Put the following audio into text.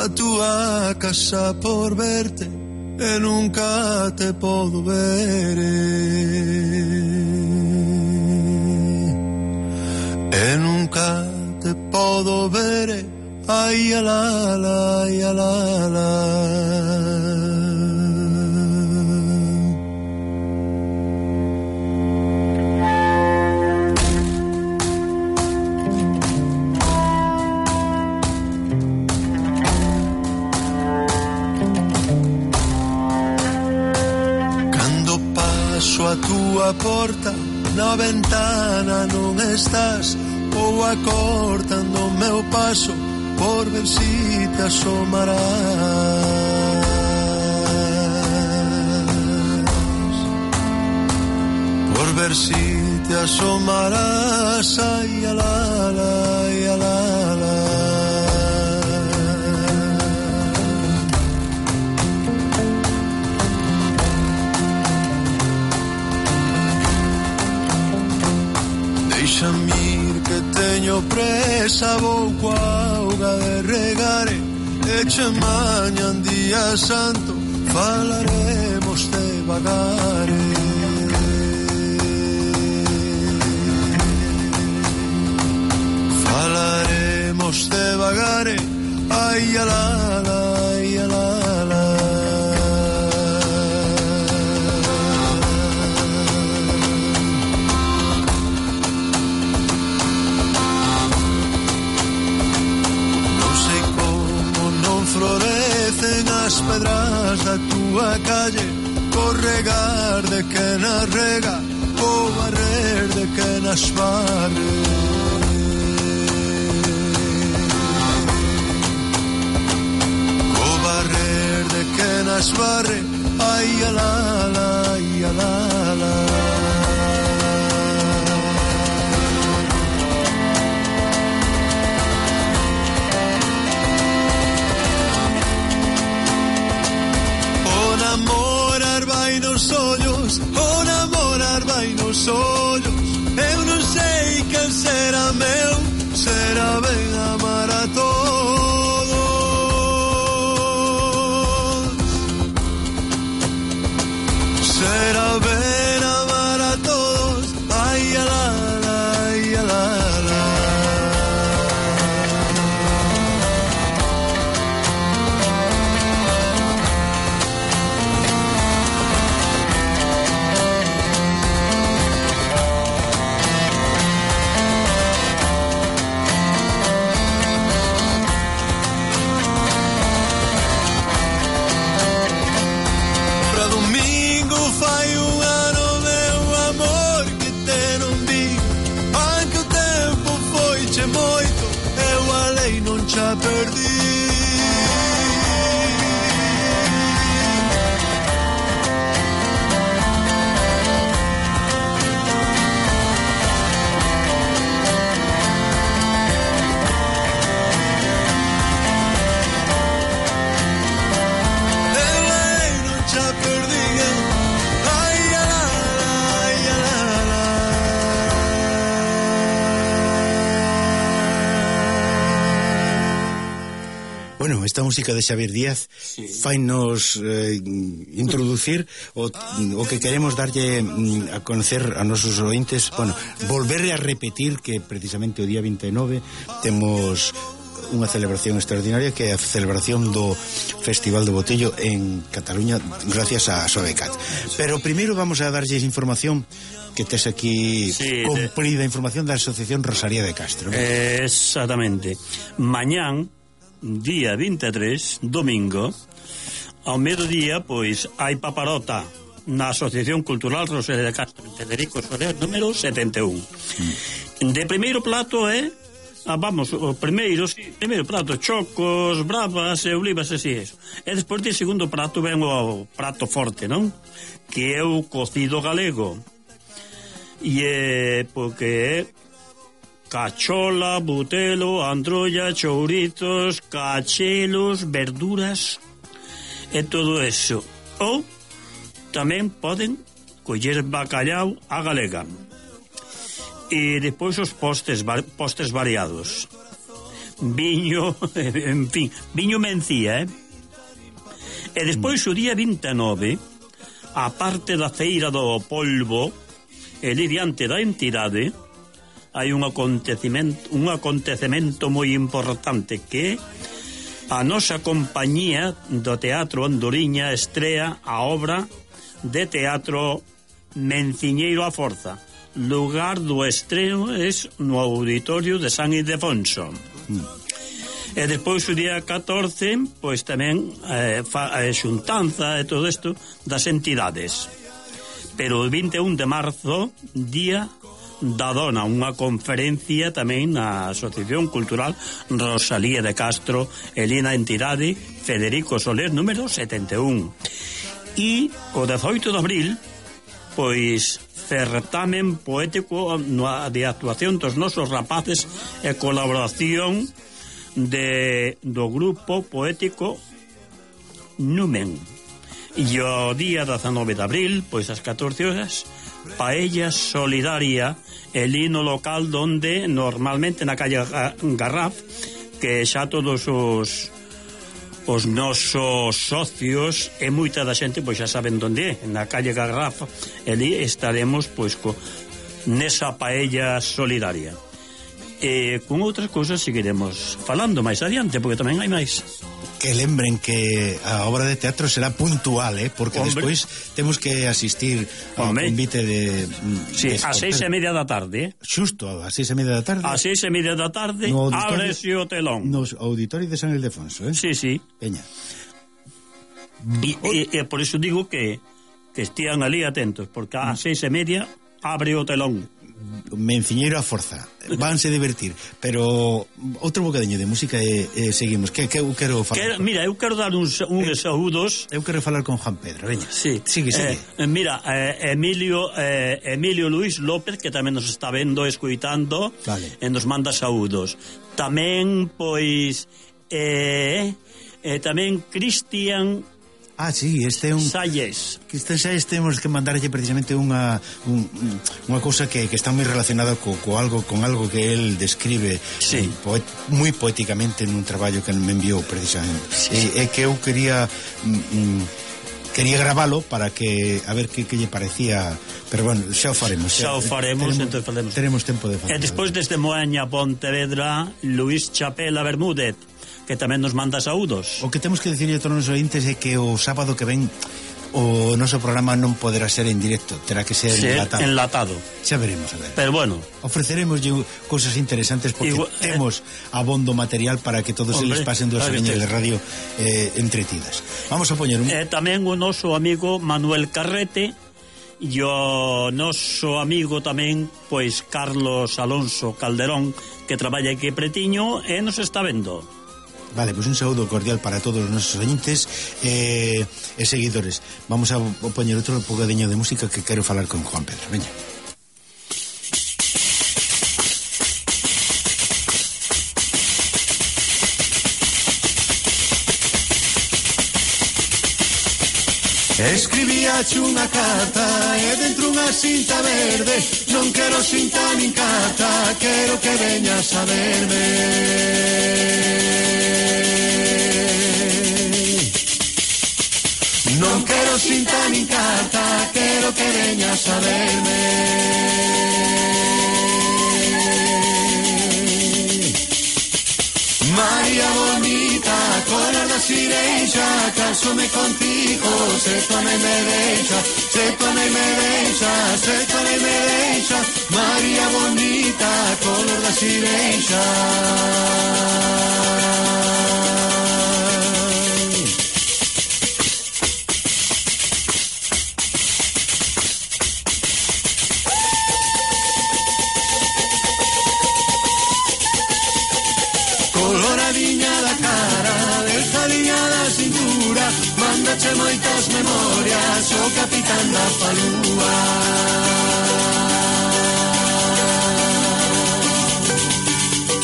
a túa casa por verte e nunca te podo ver, e nunca te podo ver, ai alala, ai alala. Paso a túa porta, na ventana non estás, ou acortando o meu paso por ver si te asomarás, por ver si te asomarás, ai alala, ai alala. Deixame ir que teño presa, vou coa auga de regare, e che mañan día santo falaremos devagare. Falaremos devagare, ai alala, ai alala. Florecen as pedras da túa calle, co regar de quen as rega, co barrer de quen as barre. Co barrer de quen as barre, ai alala, ai alala. Namorar vai nos ollos, o namorar vai nos ollos. Eu non sei quen será meu, será ben amar a todos. Será ben amar a todos, ai alala, ai alala. Já perdi. Bueno, esta música de Xavier Díaz fainos introducir o que queremos darlle a conocer a nosos ointes, bueno, volver a repetir que precisamente o día 29 temos unha celebración extraordinaria, que é a celebración do Festival do Botello en Cataluña gracias a Sobecat. Pero primeiro vamos a darlles información que tes aquí, cumprida información da Asociación Rosalía de Castro, ¿no? Exactamente. Mañán, día 23, domingo, ao mediodía, pois, hai paparota na Asociación Cultural Rosalía de Castro, Federico Soler, número 71. De primeiro plato é, o primeiro prato, chocos, bravas e olivas, así é. E despois de segundo prato ven o prato forte, non? Que é o cocido galego. E é, porque é cachola, butelo, androlla, chouritos, cachelos, verduras e todo eso. Ou tamén poden coller bacallau a galega. E despois os postres variados. viño, en fin, viño mencía, E despois o día 29, a parte da feira do polvo, ali diante da entidade, hai un acontecemento moi importante que a nosa compañía do Teatro Andoriña estrea a obra de teatro Menciñeiro a Forza. Lugar do estreno es no Auditorio de San Ildefonso. E despois o día 14, pois tamén xuntanza e todo isto das entidades. Pero o 21 de marzo, día da dona, unha conferencia tamén na Asociación Cultural Rosalía de Castro, Elina Entidade, Federico Soler, número 71. E o 18 de abril, pois certamen poético de actuación dos nosos rapaces e colaboración do grupo poético Numen. E o día 19 de abril, pois ás 14 horas, Paella Solidaria, el hino local donde normalmente na calle Garraf, que xa todos os nosos socios e moita da xente pois xa saben onde é, na calle Garraf. Ali estaremos pois nesa Paella Solidaria. E con outras cousas seguiremos falando máis adiante, porque tamén hai máis. Que lembren que a obra de teatro será puntual, porque despois temos que asistir ao convite de... Sí, a 6:30 da tarde. Xusto, a 6:30 da tarde. A 6:30 da tarde, ábrese o telón. No Auditorio de San Ildefonso, Sí, sí. Peña. E por iso digo que estean ali atentos, porque a 6:30 abre o telón. Menciñeiro a Forza, vanse divertir. Pero outro bocadiño de música e seguimos. Que eu quero falar? Mira, eu quero dar uns saúdos. Eu quero falar con Juan Pedro, veña. Sí. Sigue. Mira, Emilio Luis López, que tamén nos está vendo, escuitando, vale. E nos manda saúdos. Tamén, pois, tamén Cristian sí, este é un... Salles. Cristian Salles, temos que mandarlle precisamente unha cousa que está moi relacionada con algo que el describe, sí, moi poéticamente nun traballo que me enviou precisamente. Sí. É que eu quería gravalo para que a ver que lle parecía, pero bueno, xa o faremos. Teremos tempo de facer. E despois desde Moaña, Pontevedra, Luis Chapela Bermúdez, que tamén nos manda saúdos. O que temos que dicirle a todos os ointes é que o sábado que ven o noso programa non poderá ser en directo, terá que ser enlatado. Xa veremos, a ver. Pero bueno, ofreceremos cousas interesantes porque temos abondo material para que todos eles pasen 2 horiñas de radio entretidas. Vamos a poñer un... tamén o noso amigo Manuel Carrete e o noso amigo tamén, pois, Carlos Alonso Calderón, que traballa aquí pretiño e nos está vendo. Vale, pues un saúdo cordial para todos os nosos oyentes e seguidores. Vamos a poñer outro bocadiño de música que quero falar con Juan Pedro. Veña. Escribíache unha carta e dentro unha cinta verde. Non quero cinta nin carta, quero que veñas a verme. Non quero cinta nin carta, quero que veñas a verme. María bonita, color da sireixa, casome contigo, se tu non me deixa, se tu non me deixa, se tu non me deixa. María bonita, color da sireixa. Coloradinha da cara, delgadiña da cintura, mándache moitas